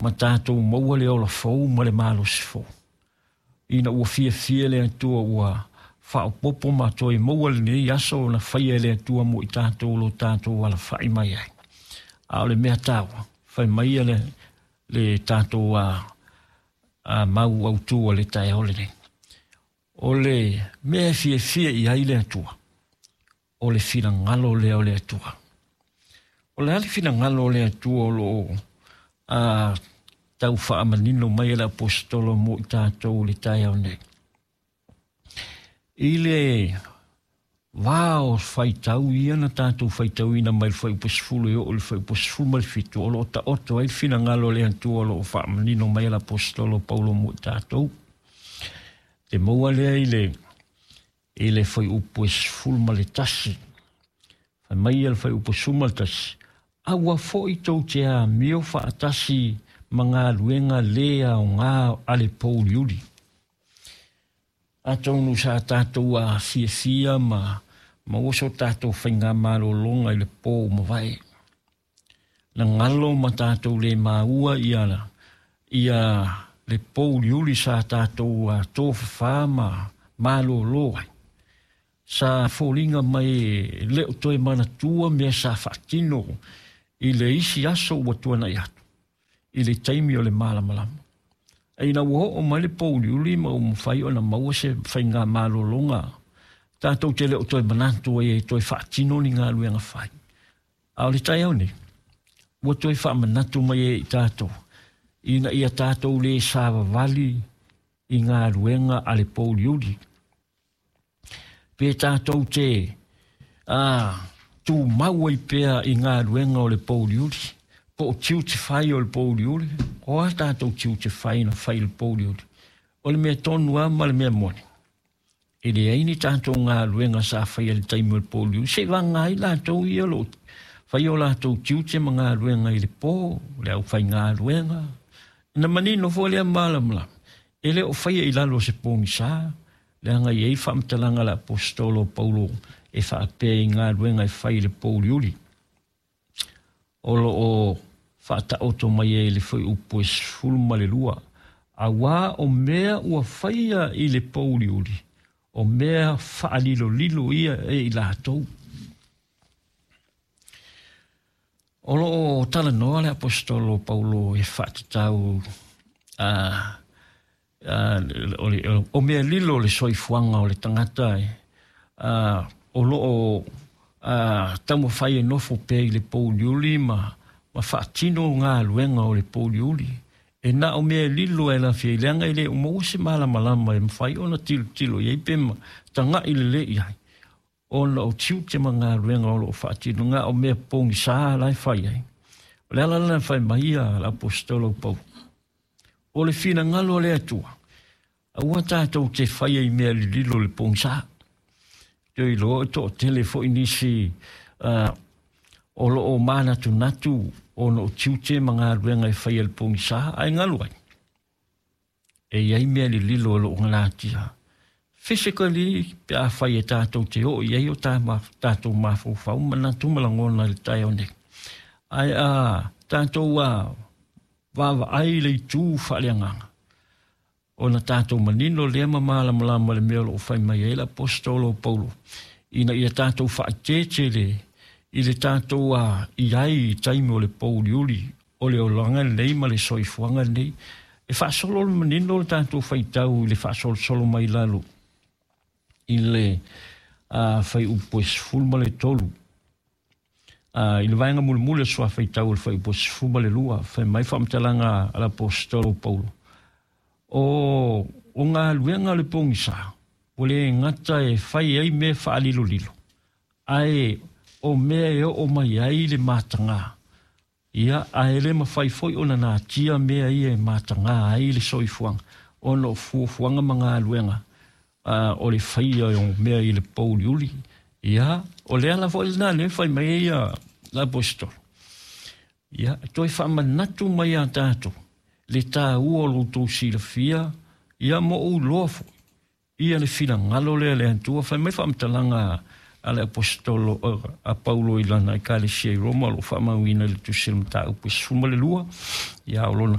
Ma tatou maua le ola fou ma le malosi fou. Ina ua fiafia le Atua ua faaopoopo ma toe maua lenei aso na faia e le Atua mo i tatou lo tatou alafai mai ai. A o le mea taua, fai mai le tatou mau autu o le taeao lenei. O le mea e fiafia i ai le Atua, o le finagalo lea o le Atua. O le a le finagalo o le Atua o lo o tau faamanino mai e le aposetolo mo i tatou le taeao nei? I le va o faitau ia na tatou faitauina mai le fuaiupu 10 e oo i le fuaiupu 17, o lo o taoto ai le finagalo o le Atua o lo o faamanino mai e le aposetolo Paulo mo i tatou. Te maua lea i le fuaiupu 11. Fai mai le fuaiupu 11, aua foi tou te amio faatasi ma galuega le aoga a le pouliuli. Atonu sa tatou afiafia ma maua so tatou faigamalologa i le po mavae. Na galo ma tatou le maua ia le pouliuli sa tatou tofafa ma malolo ai. Sa foliga mai le o toe manatua mea sa faatino i le isi aso ua tuanai atu, i le taimi o le malamalama. Ina ua oo mai le pouliuli ma ua mafai ona maua se faigamalologa, tatou te le o toe manatu ai e toe faatino ni galuega fai. A o le taeao nei, ua toe faamanatu mai e i tatou, ina ia tatou le savavali i galuega a le pouliuli. Pe tatou te tumau ai pea i galuega o le pouliuli, po o tiute fai o le pouliuli, o a tatou tiute fai na fai le pouliuli. O le mea tonu lava ma le mea moni, e leai ni tatou galuega sa faia i le taimi o le pouliuli, se i vaga ai latou ia o lo o fai o latou tiute ma galuega i le po, le aufaigaluega. Na manino foi lea malamalama, e le o faia i lalo o se pogisa, leaga e i ai faamatalaga a le aposetolo Paulo e faapea i galuega e fai i le pouliuli. O lo o faataoto mai ai le fuaiupu e 12, auā o mea ua faia i le pouliuli, o mea faalilolilo ia e i latou. O lo o talanoa le aposetolo Paulo e faatatau o mea lilo le soifuaga o le tagata o lo o taumafai e nofo pea i le pouliuli ma faatino galuega o le pouliuli. E na o mea lilo e lafia i leaga e le o maua se malamalama e mafai ona tilotilo i ai pe tagai lelei i ai, ona o tiute ma galuega o lo o faatino na o mea pogisa la e fai ai. O le ala lena e fai mai ia le aposetolo Paulo, o le finagalo o le Atua, aua tatou te faia i mea lililo le pogisa. Te iloa o toatele foi nisi o lo o manatunatu ona o tiute ma galuega e faia le pogisa, ae galu ai. E i ai mea lililo o lo o galatia. Physically, pe a fai e tatou te oo i ai o tatou mafaufau manatu ma lagona i le taeao nei. Ae a tatou vaavaai le itu faaleagaga, ona tatou manino lea ma malamalama le mea o lo o fai mai ai le aposetolo Paulo, ina ia tatou faaeteete i le tatou i ai i taimi o le pouliuli, o le olaga lenei ma le soifuaga lenei. E faasolo le manino le tatou faitau i le faasolosolo mai lalo i le fuaiupu e 13. I le vaega mulimuli o le faitau o le fuaiupu 12, fai mai faamatalaga a le aposetolo Paulo, o galuega o le pogisa, ua le gata e fai ai mea faalilolilo, ae o mea e oo mai ai le mataga. Ia, ae le mafai foi ona natia mea ia e mataga ai le soifuaga, ona o fuafuaga ma galuega o le faia o mea i le pouliuli. Ia, o le ala foi lena lea fai mai ai le aposetolo. Ia, toe faamanatu mai ia tatou le taua o lo outou silafia, ia mo ou iloa foi ia le finagalo lea le Atua. Fai mai faamatalaga a le aposetolo a Paulo i lana ekalesia i Roma, o lo o faamauina i le tusi o le mataupu e 12, ia o lona